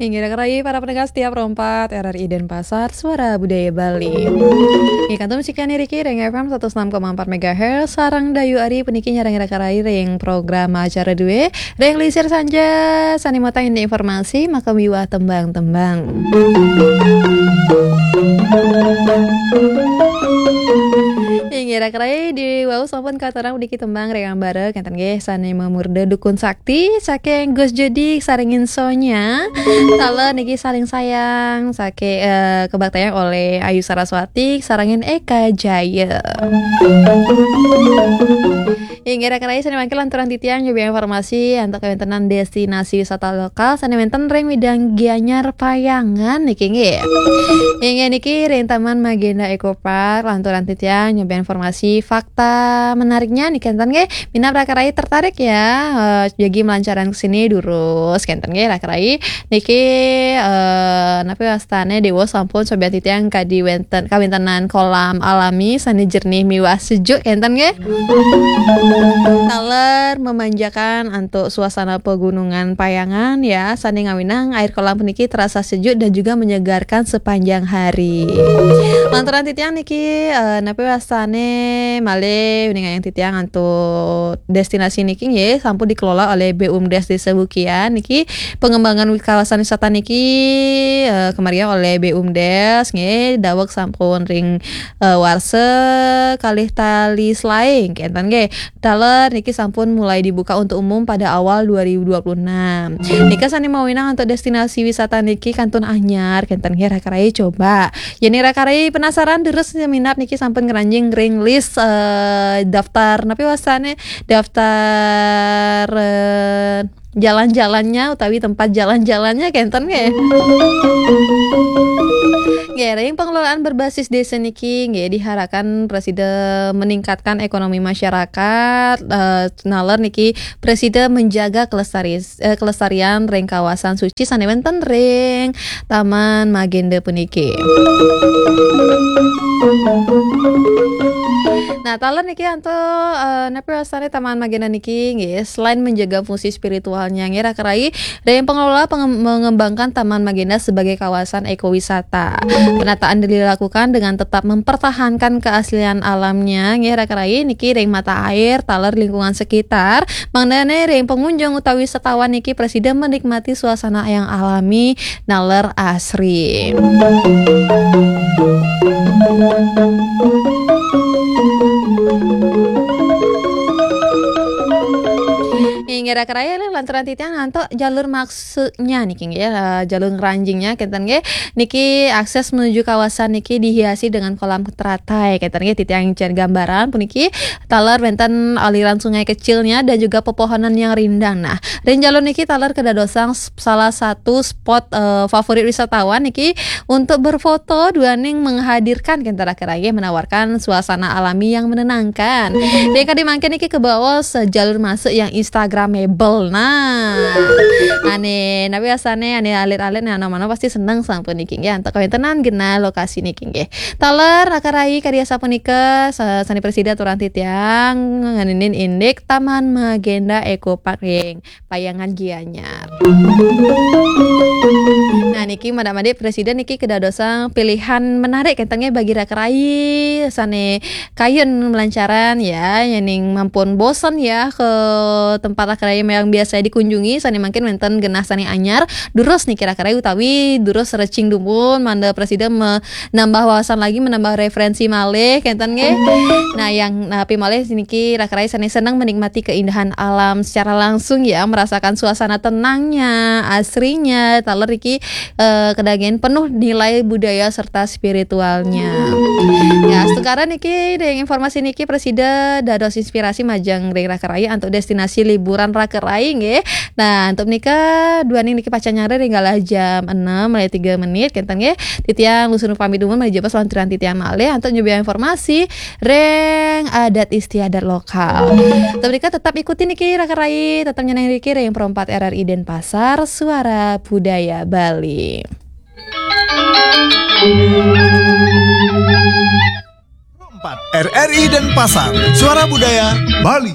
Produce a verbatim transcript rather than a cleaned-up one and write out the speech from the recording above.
Inggih raka rayi para pendengar setia Pro empat R R I Denpasar, Suara Budaya Bali. Inggih kantun sekian niki ring F M seratus enam koma empat megahertz, sareng Dayu Ari puniki nyarengin raka rayi ring program acara due, ring Lisir Sanja, sane matang indik informasi, maka miwah tembang-tembang. Inggih raka rayi di wau sampun katurang puniki tembang ring ambara, kenten nggih, sane mamurda Dukun Sakti, saking Gus Jodi sarengin Sonya. Taler niki Saling Sayang, sake, eh, kabaktayang oleh Ayu Saraswati, sarengin Eka Jaya. Inggih raka rayi sane mangkin lanturang titiang nyubi informasi antuk kawentenan destinasi wisata lokal sane wenten ring Widang Gianyar Payangan niki nggih. Inggih niki ring Taman Magenda Eco Park, lanturang titiang nyubi informasi fakta menariknya niki kenten nggih. Minab raka rayi tertarik ya, eh, jagi melancaran ke sini durus kenten nggih raka rayi. Niki, eh, napi wastane dewa sampun sobian titiang kadi wenten, kawentenan kolam alami sane jernih miwah sejuk kenten nggih. Taler memanjakan antuk suasana pegunungan Payangan ya, sane ngawinang air kolam puniki terasa sejuk dan juga menyegarkan sepanjang hari. Lanturang titiang niki, eh, napi wastane malih uningayang titiang antuk destinasi niki nggih sampun dikelola oleh BUMDes Desa Bukian niki. Pengembangan wi-, kawasan wisata niki, eh, kemariang oleh BUMDes nggih, daweg sampun ring, eh, warsa kalih tali selae kenten nggih. Taler niki sampun mulai dibuka untuk umum pada awal dua ribu dua puluh enam. Nika sane mawinang antuk destinasi wisata niki kantun anyar kenten nggih raka rayi coba. Yen raka rayi penasaran durus minab niki sampun ngranjing ring list, eh, daftar napi wastane daftar, eh, jalan-jalannya utawi tempat jalan-jalannya kenten nggih. Nggih, ring pengelolaan berbasis desa niki nggih diharapkan prasida meningkatkan ekonomi masyarakat, eh, naler niki prasida menjaga kelestari-, eh, kelestarian ring kawasan suci sane wenten ring Taman Magenda puniki. Nah, taler niki antuk, eh, napi wastane Taman Magenda niki nggih, selain menjaga fungsi spiritualnya nggih raka rayi, ring pengelola penge-, mengembangkan Taman Magenda sebagai kawasan ekowisata. Penataan dilakukan dengan tetap mempertahankan keaslian alamnya nggih raka rayi niki ring mata air, taler lingkungan sekitar, mangdane ring pengunjung utawi wisatawan niki prasida menikmati suasana yang alami naler asri. Inggih raka rayi, lanturang titiang antuk jalur maksudnya niki nggih, eh, jalur ngranjingnya kenten nggih. Niki akses menuju kawasan niki dihiasi dengan kolam teratai kenten nggih, titiang cen gambaran puniki. Taler wenten aliran sungai kecilnya dan juga pepohonan yang rindang. Nah, ring jalur niki taler kedadosang s-, salah satu spot, eh, favorit wisatawan niki untuk berfoto duaning menghadirkan kenten raka rayi, menawarkan suasana alami yang menenangkan. Ring kadi mangkin niki kebaos jalur masuk yang instagramable. Nah, ane napi wastane ane alit-alit nih, anak-anak pasti seneng sampun niki nggih antuk kawentenan genah lokasi niki nggih. Taler raka rayi kadi asapunika sa-, sane prasida aturang titiang ngeninin indik Taman Magenda Eco Park ring Payangan Gianyar. Nah, niki madak-madik prasida niki kedadosang pilihan menarik kenten nggih bagi raka rayi sane kayun melancaran ya, yening ampun bosen ya ke tempat raka rayi yang biasa dikunjungi, sane mangkin wenten genah sane anyar, durus niki raka rayi utawi durus searching dumun, mangda prasida me-, nambah wawasan lagi, menambah referensi malih kenten nggih. Nah, yang napi malih niki raka rayi sane seneng menikmati keindahan alam secara langsung ya, merasakan suasana tenangnya, asrinya, taler niki, eh, kedagian penuh nilai budaya serta spiritualnya. Ya, astungkara niki ring informasi niki prasida dados inspirasi majeng ring raka rayi antuk destinasi liburan raka rayi nggih. Nah, antuk menika duaning niki pacang nyarengin ring galah jam enam malih tiga menit kenten nggih. Titiang lusun pamit dumun, malih jebos lanturang titiang malih antuk nyubi informasi ring adat istiadat lokal. Antuk menika tetap ikuti niki raka rayi, tetap nyeneng niki ring Pro empat R R I Denpasar, Suara Budaya Bali. Pro empat R R I Denpasar, Suara Budaya Bali.